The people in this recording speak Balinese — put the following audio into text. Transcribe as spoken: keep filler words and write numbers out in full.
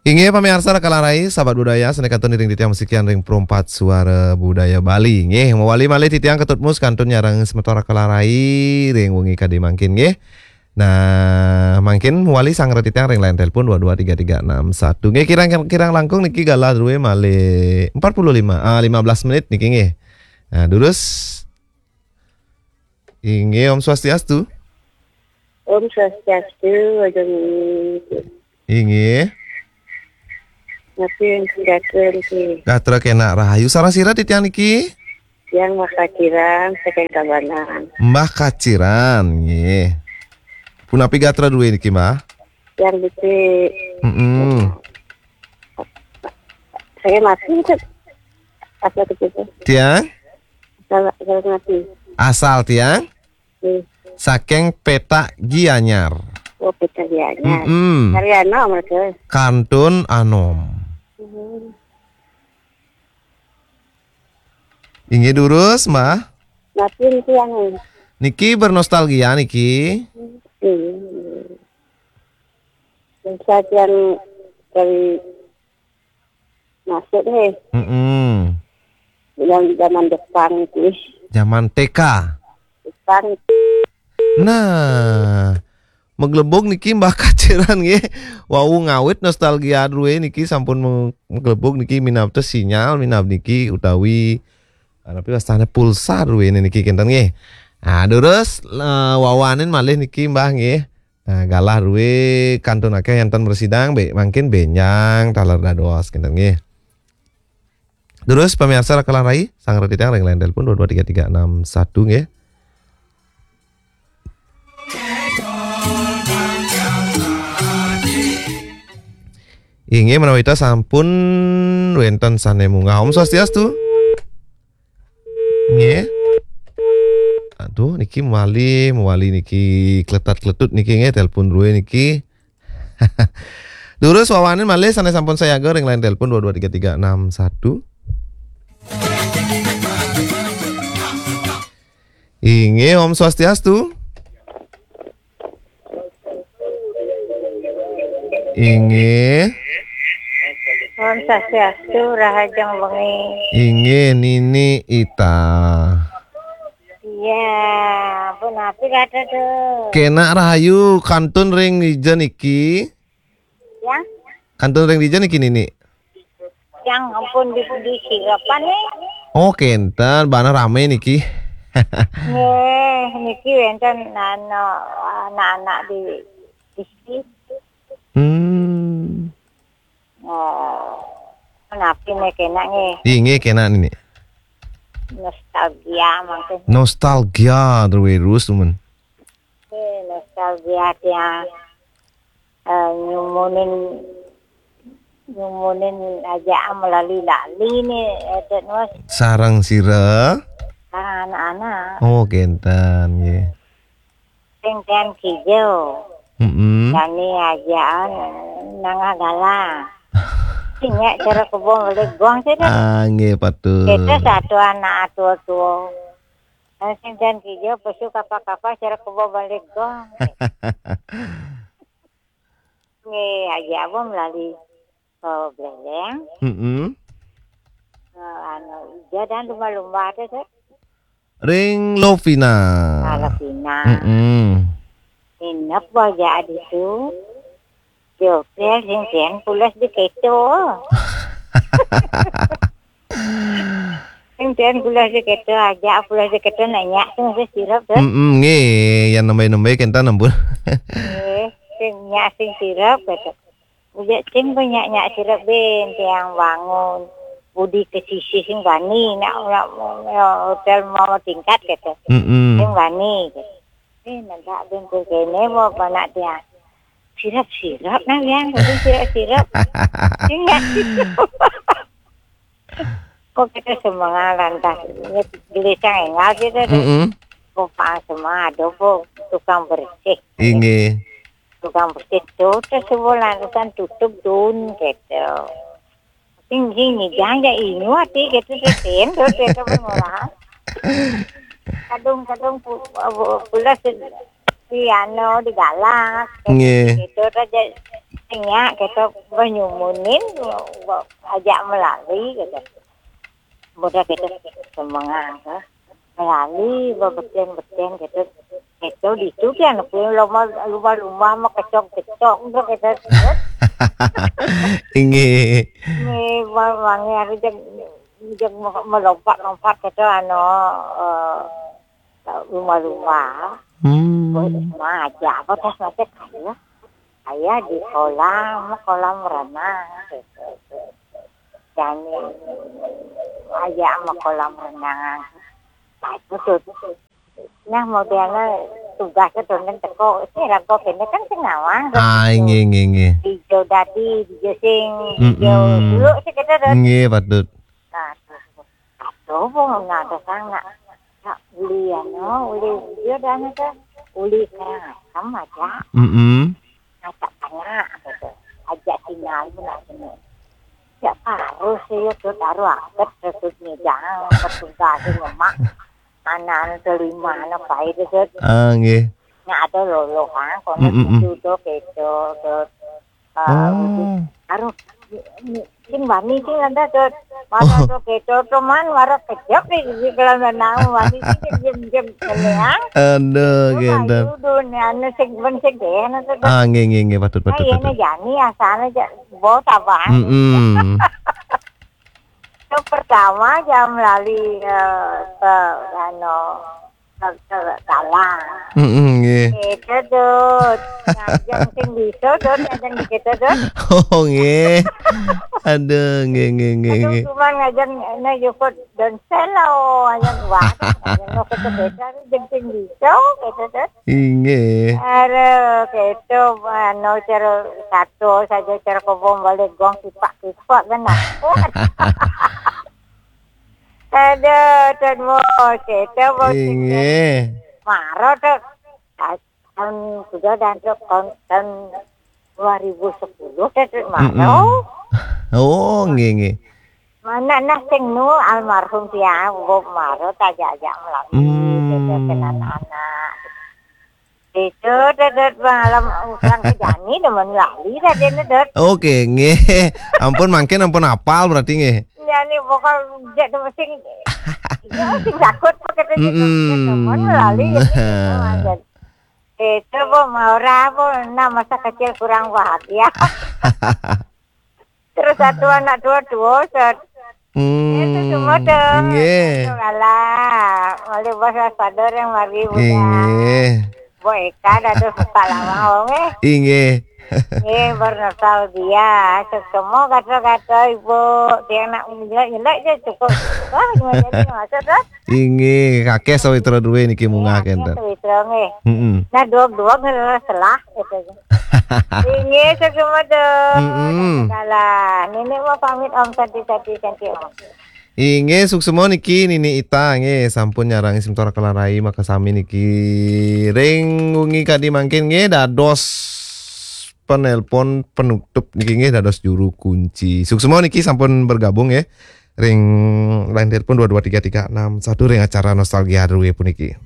Inggih pamiarsa Raka Larai, sahabat budaya, sané kantun iring titiang masikian ring Perumpat Suara Budaya Bali. Nggih, mawali malih titiang ka Tutmus kantun nyarengin semeton Raka Larai ring wengi kadi mangkin nggih. Nah, mangkin mawali sanggra titiang ring line telepon dua dua tiga tiga enam satu. Nggih, kirang-kirang langkung niki galah drué malih empat puluh lima, ah, lima belas menit niki nggih. Nah, durus. Inggih, Om Swastiastu. Om Swastiastu, Agung. Inggih. Napi wénten gatra niki? Gatra kénak rahayu. Sareng sira titiang niki? Tiang Mbah Kaciran saking Tabanan. Mbah Kaciran, nggih. Punapi gatra drué niki, Mbah? Tiang becik. Mm-mm. Saya mati, Cek. Asal kecil. Tiang? Asal, asal mati. Asal tiang? Nggih. Saking Petak Gianyar. Oh, Petak Gianyar. Mm-mm. Karya anom mereka. Kantun anom. Hmm. Inggih durus, Mbah. Napi niki yang Niki bernostalgia niki. Hmm. Saya yang dari masuk nih. Mm-mm. Yang zaman Jepang itu. Zaman T K. Jepang. Nah, maglebug niki Mbah Kaciran nggih. Wau ngawit nostalgia drué niki sampun meng-, maglebug niki minab té sinyal, minab niki utawi, ah, napi wastané pulsa drué niki kénten nggih. Ah, durus, eh, wawanin malih niki Mbah nggih. Nah, galah drué kantun akéh énten mrasidang bé-, mangkin bénjang taler dados kénten nggih. Durus pamiarsa Raka Larai, sanggra titiang ring line telepon dua dua tiga tiga enam satu nggih. Inggih menawi ta sampun wénten sané munggah. Om Swastiastu. Nggih. Aduh, niki mawali, mawali niki kletat-kletut niki nggih telepon drué niki. Durus wawanin malih sané sampun sayaga ring line telepon dua dua tiga tiga enam satu. Inggih, Om Swastiastu. Inggih. Om Swastiastu, rahajeng wengi. Inggih, Nini Ita. Iya, punapi gatra tuh? Kénak rahayu, kantun ring dija niki. Ya? Kantun ring dija niki, Nini? Yang ampun di, di sirapan nih. Oh, kénten, bana ramé niki. Nggih, niki wénten nano, anak-anak di, di sini. Hmm. Oh, napi nih kénak nggih? Inggih, kénak, Nini. Nostalgia mangkin. Nostalgia, terus, temen. Eh, nostalgia tiang, eh, nyumunin, nyumunin aja melali-lali nih, eh, Dek Nus. Sareng sira? Sareng anak-anak. Oh, kénten, nggih. Sing ten kijel. Mm-mm. Dani ajaan nangah galang. Sing nyak cara kebo melih gong sih, Dek. Ah, nggih, patut. Kita satu anak tua-tua. Sing ten kijel pesu kapa-kapa cara kebo balik gong. Nggih, aja apa melali, eh, beleleng. Mm-mm. Eh, anu, ija dan lumba-lumba ada, Dek. Ring Lovina. Ah, Lovina. Mm-mm. Inep aja adi tu. Di hotel sing ten pulas di keto. Sing ten pulas di keto aja, pulas di keto nanya sing wis sirep, Dek. Mm-mm, nggih, yang nembé-nembé kénten ampun. Nggih, sing nyak sing sirep gitu. Udah sing banyak nyak sirep ben tiang bangun. Budi ke sisi sing bani nak, nak, ya, hotel mau tingkat gitu. Mm-mm. Sing bani gitu. Eh, nanti ben ku kene mau anak tiang. Sirep-sirep nah yang, sirep-sirep. Sing nyak sirep. Kok kita semangat lantas gelisang enggak gitu deh. Mm-mm. Kok pas semua ada kok tukang bersih. Inggih. Tukang bersih tuh terus sebulan tutup dun gitu. Sing sing nyidang ya inyu ati gitu sih, Tin. Terus kita pengolahan. Kadung-kadung pu-, pu-, pulas si anu digalak. Nggih. Gitu aja. Nya, kita banyumunin, ajak melali, gitu. Budak kita semangat, ha. Melali, bebeten-beten, gitu. Itu di itu dia, nak lumba-lumba, mah kecok-kecok, gitu, gitu. Inggih. Ni, wangi hari jeng, jeng melompat-lompat, gitu, anu, eh, lumba-lumba. Hmm. Woi, mah aja apa tas macet kaya. Kaya di kolam, kolam renang. Gitu. Dan aja sama kolam renang. Nah, itu tuh. Nah, modelnya tugasnya tuh nang teko. Ini rago kene kan sing ngawang. Ah, inggih, inggih, inggih. Hijau dadi, hijau sing, Mm-mm. hijau dulu sih kita tuh. Inggih, patut. Nah, tuh. Aduh, bu, nggak ada sana. Nak uli anu, uli hijau dan itu. Uli kerang asam aja. Mm-mm. Ngacak tanya gitu. Ajak tinggal pun nak sini. Ya harus sih ya tuh taruh aket tuh nyidang, petugas nyemak. Anak terima anak baik itu. Ah, nggih. Nya ada lolo kan, kono Mm, mm, mm. Duduk itu tuh. Oh. Aduh, sing wani sing ada tuh. Mana tuh gitu, cuman marah kejep nih, di kelam nang wani sing jem-jem keleang. Aduh, gitu. Udah nih, anu sing ben sing deh, anu tuh. Ah, nggih, nggih, nggih, patut, patut, Ayo patut. Jani asalnya aja bos abang. Mm-mm. Itu pertama jam lali eh, ke anu ke, ke dalang. Mm-mm, nggih. Itu tuh, ngajeng sing bisa tuh, ngajeng gitu tuh. Oh, nggih. Aduh, nggih, nggih, nggih, Aduh, nggih. cuman ngajeng ini jukut dan selo, ngajeng wah, ngajeng lo ke sepeda, ngajeng sing bisa gitu tuh. Inggih. Aduh, gitu, anu, cara satu saja cara kobong balik gong kipak-kipak kan aku. Aduh, dan mau gitu, mau Inggih. Maro tuh. Tahun sudah dan tuh tahun, tahun dua ribu sepuluh tuh tuh Maro. Mm-mm. Oh, nggih, nggih. Mana nah sing nu almarhum dia, Bob Maro, tajak-ajak melati, Hmm. gitu, dengan anak. Itu tuh, tuh malam orang ke Jani, demen lali tadi nih, Dot. Oke, nggih. Ampun mangkin ampun apal berarti nggih. Jani pokok dia tuh sing, dia sing takut pakai tuh, Mm-mm. demen lali, gitu. Itu, Bu, mau ora, Bu, nah, masa kecil kurang bahagia. Terus satu anak dua-dua, set. Itu Hmm. semua dong. Nggih. Alah, malu bos waspada yang mari, Bu, ya. Inggih. Bu Eka, dah tuh, Pak Lawang, eh. Inggih. Eh, bernostalgia. Semua kata-kata ibu, dia nak nyelek-nyelek je cukup. Wah, gimana jadi masa tuh? Inggih, kakeh sawitra duwe niki munggah kenten. Sawitra nggih. Heeh. Nah, dua-dua ngelah selah gitu. Inggih, sesumedo. Mm-mm. Dalah. Nenek mau pamit Om, sati-sati, sati Om. Inggih, suksma niki Nini Ita nggih sampun nyarangi semeton Raka lan Rai makasami niki. Ring wengi kadi mangkin nggih dados penelpon penutup niki nggih dados juru kunci. Suksma niki sampun bergabung nggih. Ring line telepon dua dua tiga tiga enam satu ring acara Nostalgia Rue puniki.